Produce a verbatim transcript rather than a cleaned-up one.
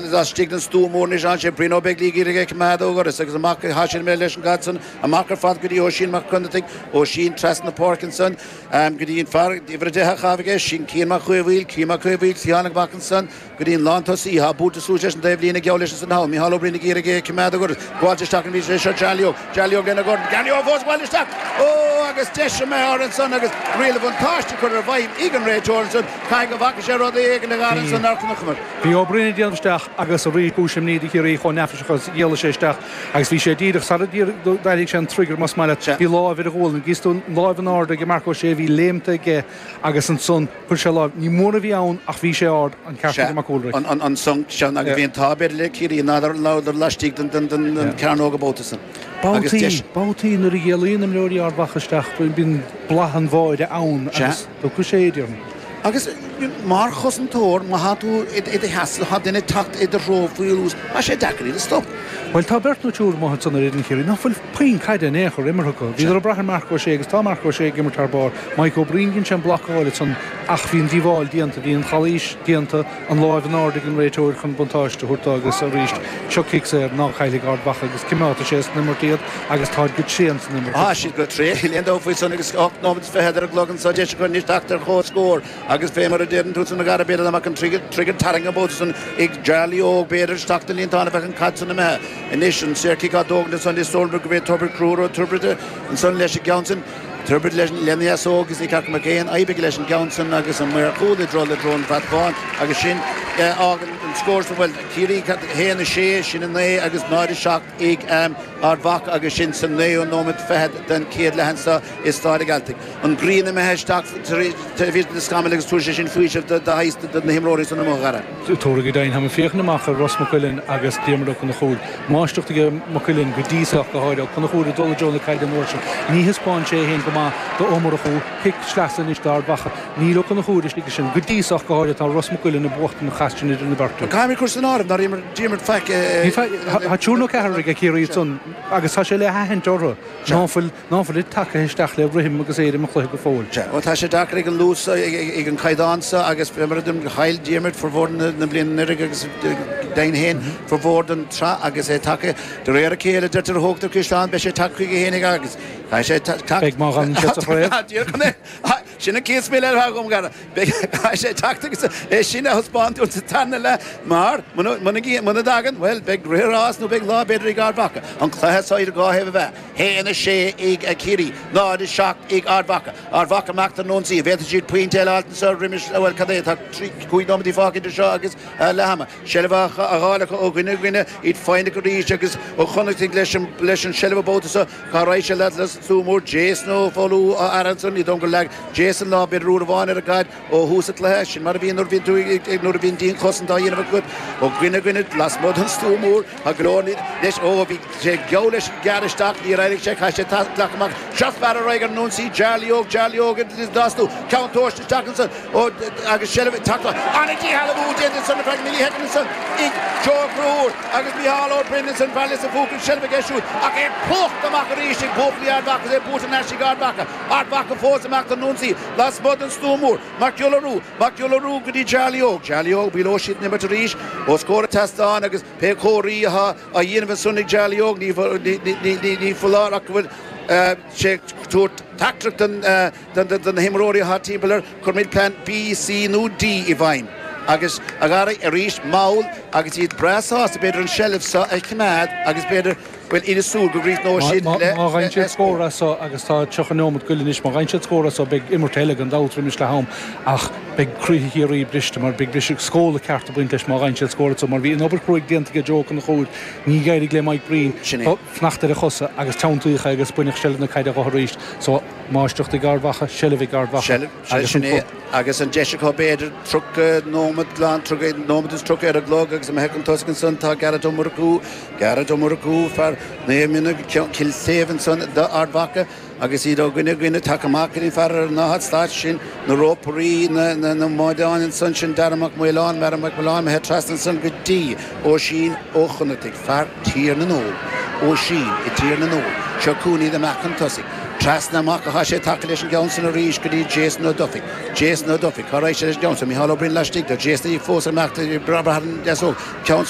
laistigh den stua mór anois ansin, Brian Ó Beaglaoich ag iarraidh é a choimeád ó dhoras agus amach tá sé imithe leis an gcaid san, amach ar fad go dtí Oisín Mac Connachtaigh, Oisín trasna na páirce ansan go dtí an fear uimhir a deich á chaitheamh aige, sin Cian Mac Caomhaoil, Cian Mac Caomhaoil, cliathánach amach ansan go dtí an lántosaí, atá buailte suas leis an dtaobhlíne geall leis ansan thall, Micheál Ó Broin ag iarraidh é a choimeád ó dhoras, gabháilte isteach an bhí sé seo Charlie Óg, Charlie Óg lena dhorn, Charlie Óg fós gabháil isteach! Ó agus deis imithe air ansan agus riail an bhuntáiste curtha i bhfeidhm ag an réiteoir ansan, caithfidh go bhfaca sé rud éigin a Dhara ansan nár chonaiceamar. Bhí Ó Broin ag déanamh isteach agus arís cúis imní do Chiarraí chomh neafaiseach agus a dhéalaigh sé isteach agus bhí sé díreach sara d'airigh sé an trigger más maith leat. Bhí lámh ar a ghualainn. Gíos tú an lámh in airde ag Marc Ó Sé a bhí léimte aige agus ansan chuir sé lámh. Ní mór a bhí ann ach bhí sé ard, an ceart ag Mac Ualraig. An sonc sin agus bhí an t-ádh b'fhéidir le Ciarraí nár laistigh den chearnóg an babhta san. Agus deis. Babhtaí nuair a dhéalaíonn imreoirí Ard Mhacha isteach bíonn boladh an bháire ann agus tiocfaidh sé, déarfainn. Agus mar chosantóir, má thá tú i do sheasamh, thá duine ag teacht i do threo faoi luas, tá sé deacair iad a stop. Bhuel, tá beirt nó triúr amuigh ansan ar fhoireann Chiarraí ná fuil puinn caide in aon chor imeartha acu. Bhíodar ag brath ar Marc Ó Sé agus tá Marc Ó Sé ag imirt thar barr. Mike Ó Broin, dhein sé an blocáil ansan ach bhí an díobháil déanta, bhí an chalaois déanta, an láimh in airde ag an réiteoir chun buntáiste a thabhairt dó agus arís, seo cic saor ná caillfidh Ard Mhacha agus coimeádfaidh sé san imirt iad agus táid go tréan san imirt. Tá siad go tréan, níl aon dabht faoi san agus ocht nóiméad is fichead ar an gclog anso, deis acu anois teacht ar chomhscór agus fé mar a deireann tú san a Dhara b'fhéidir dá mbeadh an trigger tarraingthe an babhta san ag Charlie Óg b'fhéidir isteach den líontán a bheadh an caid san imithe. Anois an saorchic á dtógaint ansan is dóigh liom gurb é Tiobraid Conchúr Ó Tiobraide ansan leis an gceann sin. Tiobraid lena dheasóg agus ní ceart go mbeadh aon fhadhb aige leis an gceann san agus an maor cúil i dtreo le treo an bhrat bháin agus sin fhágann an scór san bhuel Ciarraí a haon a sé sin a naoi agus náid a seacht ag Ard Mhacha agus sin sa naoú nóiméad fichead den chéad leath anso i Staid an Ghealtaigh. An ghrian imithe isteach taobh thiar de na scamaill agus tabharfaidh sé sin faoiseamh do do na himreoirí san amuigh a Dhara. Tabharfaidh go deimhin. Táim ag féachaint amach ar Ros Mac Uilinn agus Diarmuid Ó Conchúir. Máistreacht aige Mac Uilinn go dtí seo ach go háirithe. Ó Conchúir ag dul i dtreo na caide an uair sin. Ní thaispeáin sé é féin go maith do Ó Murchú. Cic sleasa anois d'Ard Mhacha. Níl Ó Conchúir istigh ansin. Go dtí seo ach go háirithe tá Ros Mac Uilinn ag buachtaint an chath sin idir na beirt. Caithfimid cur san áireamh nár imir Diarmuid faic. Ní faic. Tá triúr nó ceathrar ag Ciarraí ansan agus tá sé le haithint orthu ná fuil ná fuil tagtha isteach le rithim agus éirim an chluiche go fóill. Sea, bhuel tá sé deacair ag an luas so, ag an caighdeán so agus fé mar a deirim chaill Diarmuid formhór na bliana anuraidh agus deimhin féin formhór den tsraith agus é tagtha de réir a chéile deirtear a thógtar caisleán beidh sé tagtha chuige féin agus caithfidh sé teacht Beidh má fhanann sé sa chraobh. Sin an chéad smaoineamh eile atá agam, a Dhara. Beidh caithfidh sé teacht agus é sin a thaispeáint dúinn sa tarna leath mar muna muna dtagann, bhuel beidh rith an ráis nó beidh lá b'fhéidir ag Ard Mhacha. An cluiche so idir dhá thaobh a bheith. haon a sé ag Ciarraí, náid a seacht ag Ard Mhacha. Ard Mhacha amach don ionsaí. An bhféadfaidh siad pointe eile a fháilt anseo roimis, bhuel, cad é, tá trí, cúig nóiméadaí fágtha idir seo agus leath ama. Seilbh á fháil acu ó dhuine go duine, iad foighneach arís agus Ó Connachtaigh leis an, leis an seilbh an babhta seo. Cá raghaidh sé leat le stua mór? Jason Ó Foghlú á fhaire ansan. Ní dóigh liom gur leag Jason lámh b'fhéidir uair amháin ar an gcaid ó thús an chluiche. Sin mar a bhíonn nuair a bhíonn tú ag, nuair a bhíonn dianchosaint á dhéanamh agat ó dhuine go duine lasmuigh den stua mór. Tá go leor leis. Ó, bhí sé geall leis gearradh isteach, níor éirigh sé, chaith sé glacadh amach. Seo fear ar aghaidh ar an ionsaí, Charlie Óg, Charlie Óg an dá stua, ceann tomhaiste isteach ansan, ó, agus seilbh ag teacht An-díshealbhú déanta ansan ar feadh millishoicind ansan ag Joe Ó Conchúir agus Micheál Ó Broin ansan, fear Lios an Phúca, an seilbh aige siúd ach é plúchta amach arís ag buachaillí Ard Mhacha agus é buaite thar n-ais ag Ard Mhacha. Ard Mhacha fós amach don ionsaí lasmuigh den stua mór. Mac Giolla Rua, Mac Giolla Rua go dtí Charlie Óg, Charlie Óg, Bill Ó Sé an imirt arís os comhair an tseastáin agus Pé comharthaí atá á dhéanamh ansan ag Charlie Óg, ní foláir ach go bhfuil sé ag tabhairt teachtaireacht do na himreoirí atá timpeall air, cuirfimid plean B, C nó D i bhfeidhm. Agus, a Dhara, arís mall agus iad breá sásta b'fhéidir an tseilbh seo a choimeád agus b'fhéidir, bhuel, iad ag súil go gcríochnóidh siad le Má fhaigheann siad scór as so agus tá tríocha neomat goil anois, má fhaigheann siad scór as so beidh imirt eile gan dabht roimis leath am ach beidh croíthe Chiarraí briste mar beidh briseadh scóladh ceart ag baint leis má fhaigheann siad scór as so mar bhí an obair chruaidh déanta ag Joe Ó Conchúir, ní d'éirigh le Mike Breen Sin é. fanacht ar a chosa agus teanntaíodh é agus baineadh seilbh na caide dho arís so máistreacht ag Ard Mhacha, seilbh ag Ard Mhacha Seilbh, agus sin an é. Agus an deis acu b'fhéidir tríocha nóiméad glan, tríocha nóiméad is tríocha ar an gclog agus imithe chun tosaigh ansan tá Gearóid Ó Murchú, Gearóid Ó Murchú, fear Naomh Minna, Cill Shéimh ansan d'Ard Mhacha agus iad ó dhuine go duine tagtha amach go dtí an fear ar an daichead slat sin, na rópairí, na, na, na mbáideáin ansan, sin Dara Mac Maoláin, Dara Mac Maoláin imithe trasna ansan go dtí Oisín Ó Connachtaigh, fear Tír na nÓg, Oisín i dTír na nÓg, seo chugainn iad amach chun tosaigh. Trasna amach atá sé tagtha leis an gceann san arís go dtí Jason Ó Dufaigh. Jason Ó Dufaigh, cá raghaidh sé leis an gceann san? Micheál Ó Broin laistigh de, Jason fós ag imeacht, ag brath ar an deasóg, ceann.